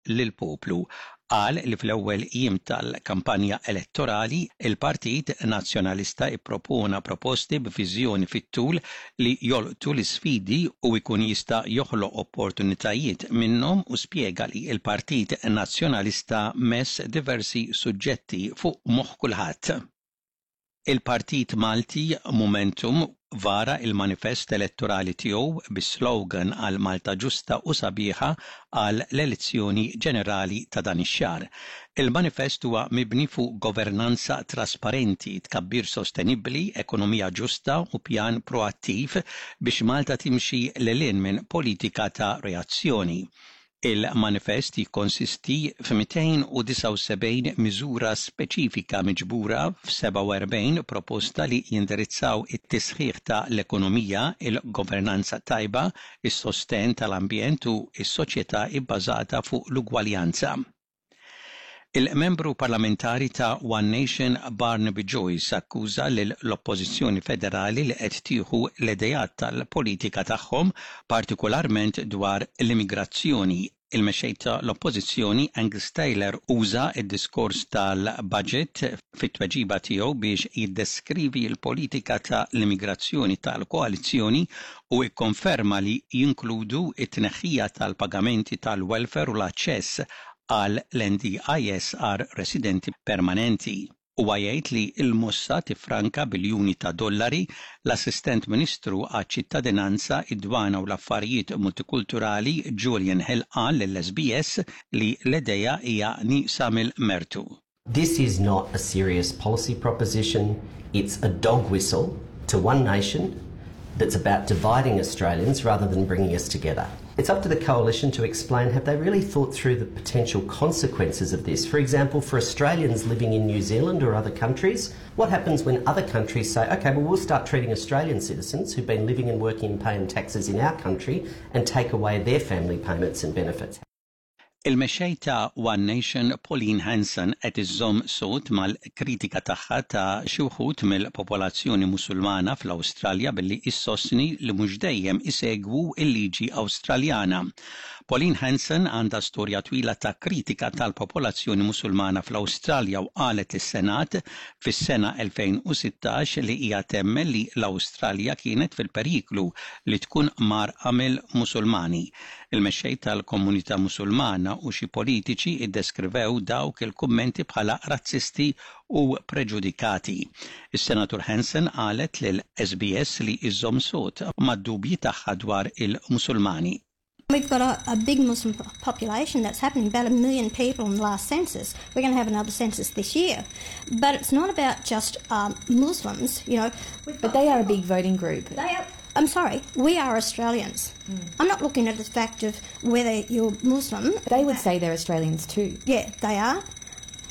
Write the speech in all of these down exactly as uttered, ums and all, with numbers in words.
Lill-poplu. Qal li fl-ewwel jiem tal-kampanja elettorali il-Partit Nazzjonalista ippropona proposti b'viżjoni fit-tul li jolqtu l-isfidi u jkun jista' joħloq opportunitajiet minnhom u spjega li l-Partit Nazzjonalista mess diversi suġġetti fuq moħħ kulħadd. Il-Partit Malti Momentum vara il-manifest elettorali tiegħu bis-slogan għal Malta ġusta u sabiħa għal l-elezzjoni ġenerali ta' dan ix-xahar. Il-manifest huwa mibni fuq governanza trasparenti, tkabbir sostenibbli, ekonomija ġusta u pjan proattiv biex Malta timxi lil hinn minn politika ta' reazzjoni. Il-manifest jikkonsisti f'mitejn u disgħa u sebgħin miżura speċifika miġbura f'sebgħa u erbgħin proposta li jindirizzaw it-tisħiħ ta' l-ekonomija, il-governanza tajba, is-sosten tal-ambjent u s-soċjetà ibbażata fuq l-ugwaljanza. Il-membru parlamentari ta' One Nation Barnaby Joyce akkuża l-Oppożizzjoni Federali li qed tieħu l-idejat tal-politika tagħhom, partikolarment dwar l-immigrazzjoni. Il-mexxej tal-Oppożizzjoni Angus Taylor uża id-diskors tal-budget fit-tweġiba tiegħu biex jiddeskrivi l-politika ta' l-immigrazzjoni tal-koalizzjoni u ikkonferma li jinkludu it-tneħħija tal-pagamenti tal-welfare u l-aċċess għal l-N D I S għal residenti permanenti. Huwa jgħid li l-mossa tifranka biljuni ta' dollari. L-Assistent Ministru għaċ-ċittadinanza, id-dwana u l-affarijiet multikulturali Julian Hill qal lill-S B S li l-idea hija nieqsa mill-mertu. This is not a serious policy proposition. It's a dog whistle to One Nation that's about dividing Australians rather than bringing us together. It's up to the coalition to explain, have they really thought through the potential consequences of this? For example, for Australians living in New Zealand or other countries, what happens when other countries say, "Okay, well, we'll start treating Australian citizens who've been living and working and paying taxes in our country and take away their family payments and benefits?" Il-mexxej ta' One Nation Pauline Hanson qed iżżomm sod mal-kritika tagħha ta' xi wħud mill-popolazzjoni Musulmana fl-Awstralja billi issostni li mhux dejjem isegwu l-liġi Awstraljana. Pauline Hanson għandha storja twila ta' kritika tal-popolazzjoni Musulmana fl-Awstralja u qalet lis-Senat fis-sena elfejn u sittax li hija temmen li l-Awstralja kienet fil-periklu li tkun mgħarrqa mill-Musulmani. Il-mexxej tal-komunità Musulmana u xi politiċi iddeskrivew dawk il-kummenti bħala razzisti u preġudikati. Is-Senatur Hanson qalet lil S B S li iżżomm sod mad-dubji tagħha dwar il-Musulmani. We've got a, a big Muslim population that's happening, about a million people in the last census. We're going to have another census this year. But it's not about just um, Muslims, you know. But they are a big voting group. They are, I'm sorry, we are Australians. Mm. I'm not looking at the fact of whether you're Muslim. They would say they're Australians too. Yeah, they are.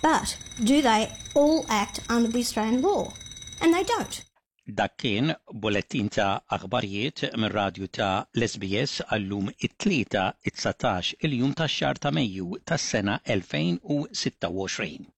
But do they all act under the Australian law? And they don't. Dak kien bulettin ta' aħbarijiet mir-radju ta' l-S B S għallum it-Tlieta it-dsatax il-jum tax-xahar ta' Mejju tas-sena elfejn u sitta u għoxrin.